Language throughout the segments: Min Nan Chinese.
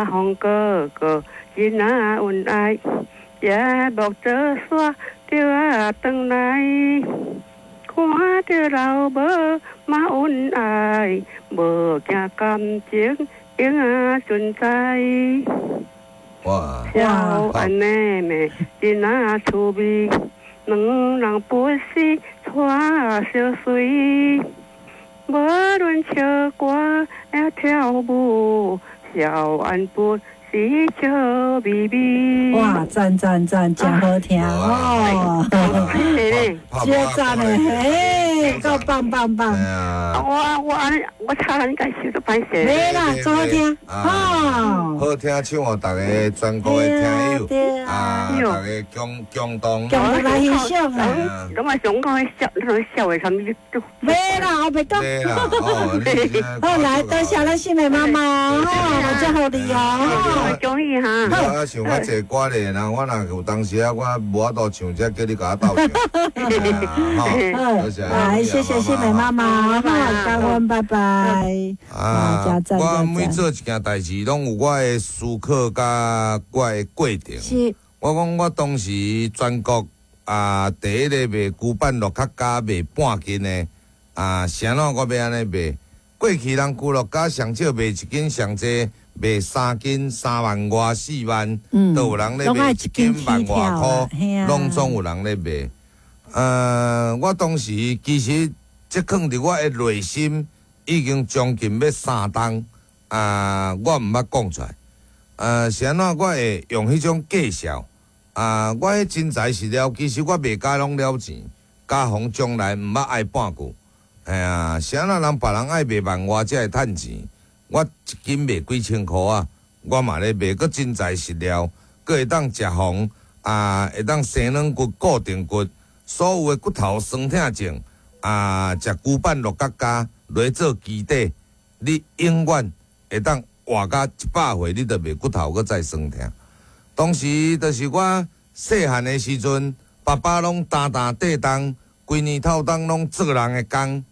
風哥哥真啊恩愛，夜幕做煞著啊轉來，看著老母嘛恩愛，無驚感情永啊存在。哇！小安妹妹真啊趣味，兩人不是帶相隨，無論唱歌抑跳舞，小安不是笑眯眯。哇，讚讚讚，真好聽哦！真讚的，嘿，夠棒棒棒！我按呢，我唱你該唱都歹勢。沒啦，真好聽，哦，好聽唱予大家全國的聽友啊，大家共共同共同來欣賞啊！攏嘛想講彼笑，彼笑的啥物都。沒啦，我袂講。沒啦，哦，好，來，多謝咱新美媽媽，哦，我祝福你哦。恭喜哈！我想較濟歌咧，人我若有當時啊，我無法度唱，才叫你共我鬥唱。好，多謝。來，謝謝新美媽媽，好，感恩，拜拜。啊，我每做一件代誌，攏有我的思考佮我的過程。我講我當時全國啊，第一個賣龜板樂較加賣半斤的啊，啥怎我欲按呢賣？過去人龜樂家上少賣一斤，上濟賣三斤3萬外4萬，都有人咧賣一斤萬外箍，攏總有人咧賣。我當時其實這囥佇我的內心已經將近欲3冬啊，我毋捌講出來。是按怎我會用彼種介紹啊？我彼真材實料，其實我賣甲攏了錢，加防將來毋捌愛半句。嘿啊，是按怎人別人愛賣萬外才會趁錢，我一斤賣幾千箍啊，我嘛咧賣，閣真材實料，閣會當食防啊，會當生軟骨、固定骨，所有的骨頭酸痛症啊，食龜板鹿角膠來做基底，你永遠會當活到100歲，你都袂骨頭閣再酸痛。當時就是我細漢的時陣，爸爸攏擔擔硩重，規年透冬攏做人的工。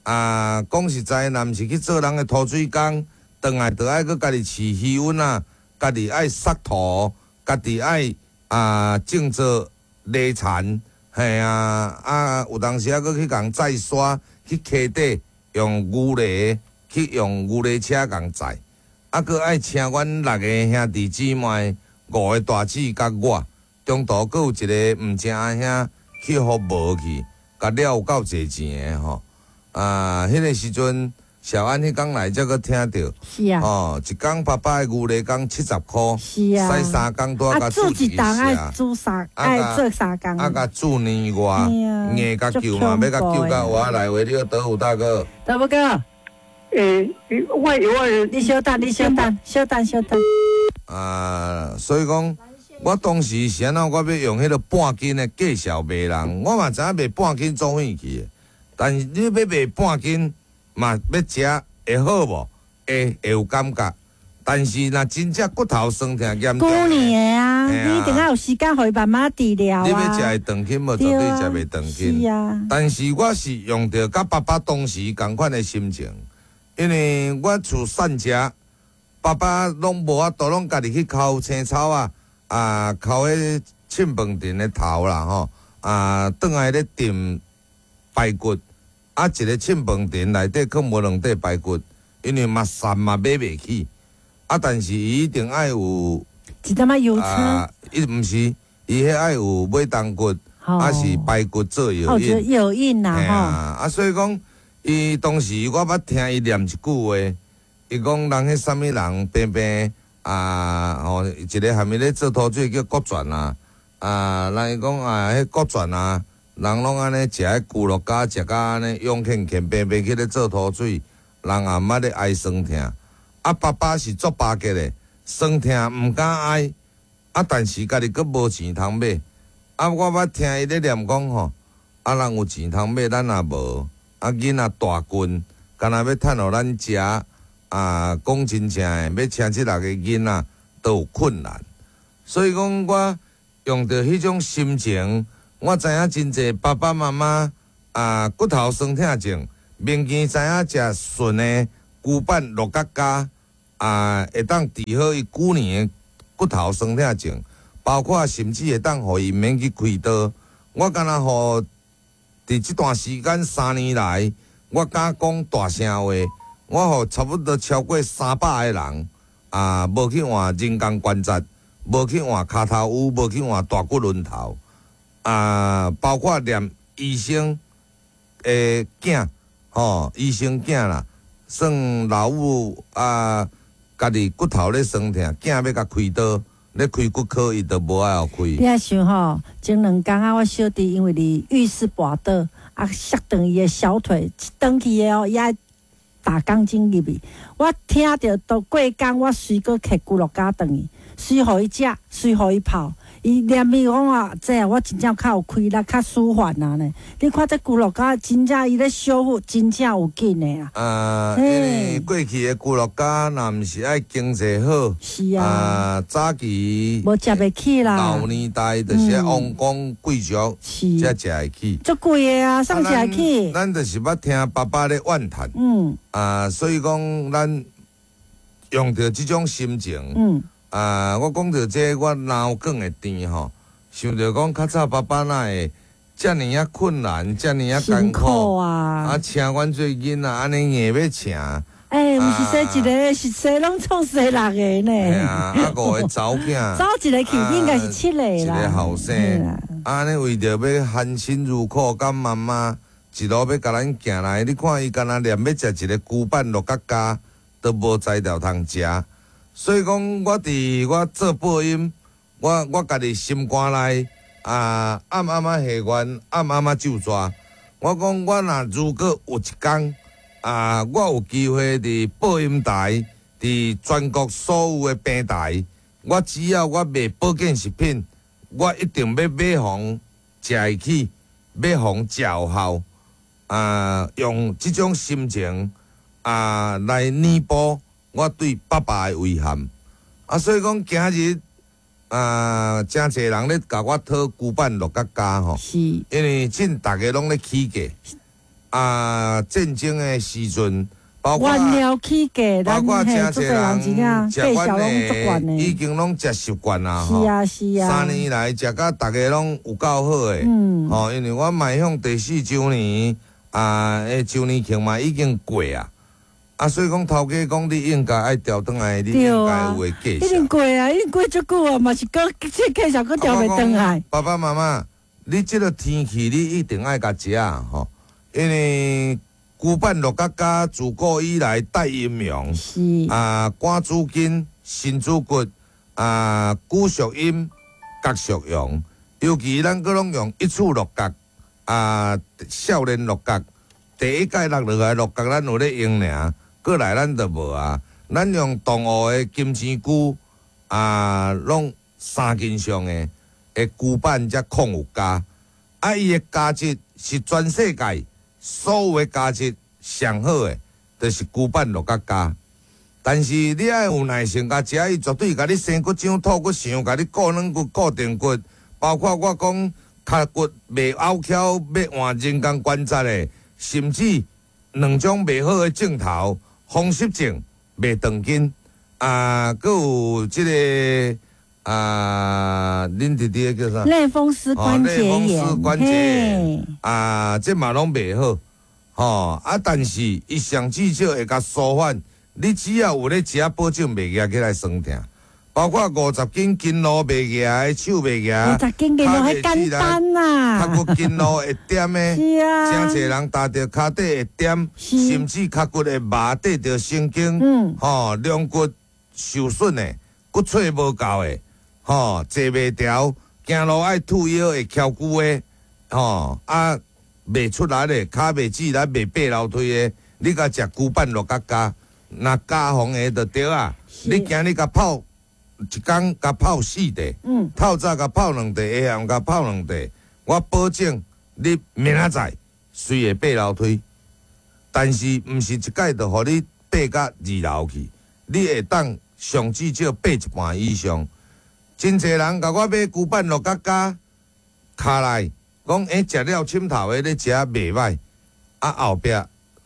啊，講實在，若毋是去做人的塗水工，轉來就愛閣家己飼魚塭仔，家己愛殺土，家己愛啊種做犁田，嘿啊啊，有當時猶閣去共載沙，去溪底用牛犁去用牛犁車共載，啊，閣愛請阮六个兄弟姊妹，五个大姊佮我，中途閣有一個毋正阿兄去予無去，共掠有夠濟錢的吼。啊，彼個時陣，小安彼工來才閣聽著，哦，一工爸爸的牛犁工70箍，駛3工拄仔共煮一冬愛煮三，愛做三工，啊，共煮年外，硬共救嘛，欲共救到我來話，你好，德虎大哥，德虎哥，欸，我我，你稍等，你稍等，稍等，稍等。啊，所以講，我當時是按怎，我欲用彼個半斤的介紹賣人，我嘛知影賣半斤做興去的。但是你欲賣半斤嘛，欲食會好無？會有感覺。但是若真正骨頭酸痛嚴重，舊年的啊，你一定要有時間予伊慢慢治療啊。你欲食會斷氣無？絕對食袂斷氣。是啊。但是我是用著佮爸爸當時仝款的心情，因為我厝散食，爸爸攏無法度，攏家己去摳青草啊，啊，摳彼凊飯田的頭啦吼，啊，轉來咧扽排骨，啊，一个凊飯田內底閣無兩塊排骨，因為嘛瘦嘛買袂起，啊，但是伊一定愛有一點仔油車，伊毋是，伊彼愛有尾胴骨，啊是排骨做藥引，藥引啦吼，啊，所以講，伊當時我捌聽伊念一句話，伊講人彼啥物人平平啊，吼，一个贁伊咧做塗水叫國全啊，啊，人伊講啊，彼國全啊。人攏按呢食彼龜鹿膠，食甲按呢勇健健平平去咧做塗水，人也毋捌咧哀酸痛。啊，爸爸是足巴結的，酸痛毋敢哀。啊，但是家己閣無錢通買。啊，我捌聽伊咧念講吼，啊，人有錢通買，咱也無。啊，囡仔大棍，敢若欲趁予咱食。啊，講真正的，欲請這六個囡仔都有困難。所以講，我用著彼種心情。我知影真濟爸爸媽媽啊，骨頭酸痛症，明見知影食順的龜板鹿角膠，啊，會當治好伊舊年的骨頭酸痛症，包括甚至會當予伊毋免去開刀。我敢若予佇這段時間3年來，我敢講大聲話，我予差不多超過300個人啊，無去換人工關節，無去換跤頭趺，無去換大骨輪頭啊，包括連醫生的囝吼，醫生囝啦，算老母啊，家己骨頭咧酸痛，囝欲共開刀，咧開骨科，伊都無愛予開。你仔想吼，前兩工啊，我小弟因為佇浴室跋倒，啊，摔斷伊的小腿，轉去的哦，伊愛打鋼筋入去。我聽著都過工，我隨閣揢龜鹿膠轉去，隨予伊食，隨予伊泡。伊連伊講啊，這我真正較有氣力，較舒緩啊呢。你看這龜鹿膠真正伊咧修復，真正有緊的啊。啊，因為過去的龜鹿膠，若毋是愛經濟好，是啊，啊，早期無食袂起啦。老年代就是王公貴族才食會起，足貴的啊，啥食會起。咱就是捌聽爸爸咧怨嘆，啊，所以講咱用著這種心情，啊！我講著這個，我腦梗會甜吼，想著講較早爸爸哪會遮爾仔困難，遮爾仔艱苦啊！啊，請阮做囡仔，按呢硬欲請。欸，毋是生一个，是生攏總生六個呢。嘿啊，啊五个查某囝。走一个去，應該是七個啦。一个後生，按呢為著欲含辛茹苦，佮媽媽一路欲共咱行來，你看伊敢若連欲食一个龜板鹿角膠都無材料通食。所以講，我佇我做播音，我家己心肝內啊，暗暗仔下願，暗暗仔咒煞。我講，我若如果有一工啊，我有機會佇播音台，佇全國所有的平台，我只要我賣保健食品，我一定欲買予食會起，買予食有效啊，用這種心情啊來彌補我對爸爸的遺憾啊，所以講今日啊，誠濟人咧共我討龜板鹿角膠吼，是，因為趁逐家攏咧起價啊，戰爭的時陣，包括原料起價，包括誠濟人食阮的，已經攏食習慣啦，是啊是啊，3年來食甲逐家攏有夠好的，吼，因為我邁向第四週年啊，週年慶嘛已經過啊。啊，所以講頭家講你應該愛調轉來，你應該有的介紹。已經過啊，已經過足久啊，嘛是閣這介紹閣調袂轉來。爸爸媽媽，你這個天氣你一定愛共食吼，因為龜板鹿角膠自古以來帶陰陽，是啊，肝主筋、腎主骨，啊，骨屬陰，角屬陽，尤其咱閣攏用一處鹿角，啊，少年鹿角，第一屆落落來鹿角，咱有咧用爾。過來咱就無啊，咱用動物的金錢龜啊，攏3斤上的的龜板才礦物膠，啊，伊的膠質是全世界所有的膠質上好的，就是龜板鹿角膠。但是你愛有耐性，共食伊絕對共你生骨長、吐骨長，共你固軟骨、固定骨，包括我講跤骨袂拗翹，欲換人工關節的，甚至兩種袂好的症頭。風濕症袂斷筋啊，閣有這個啊，恁弟弟叫啥？類風濕關節炎。類風濕關節炎啊，這嘛攏袂好，吼啊！但是伊上至少會共舒緩。你只要有咧食，保證袂壓起來酸痛。包括50斤筋路袂壓的，手袂壓，50斤筋路彼簡單啊，腳骨筋路會點的，是啊，誠濟人踏著跤底會點，甚至腳骨會麻，綴著神經，吼，龍骨受損的，骨髓無夠的，吼，坐袂牢，行路愛吐腰會翹骨的，吼，啊，袂出力的，跤袂直力，袂爬樓梯的，你共食龜板鹿角膠，若加防的就對啊，你今日共泡。一工共泡4塊，透早共泡2塊，下暗共泡2塊，我保證你明仔載隨會爬樓梯，但是毋是一擺就予你爬到2樓去，你會當上至少爬一半以上。真濟人共我買龜板鹿角膠，卡來講，欸，食了深頭的咧食袂歹，啊後壁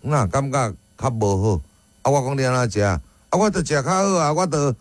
哪感覺較無好，啊我講你按怎食？啊，我著食較好啊，我著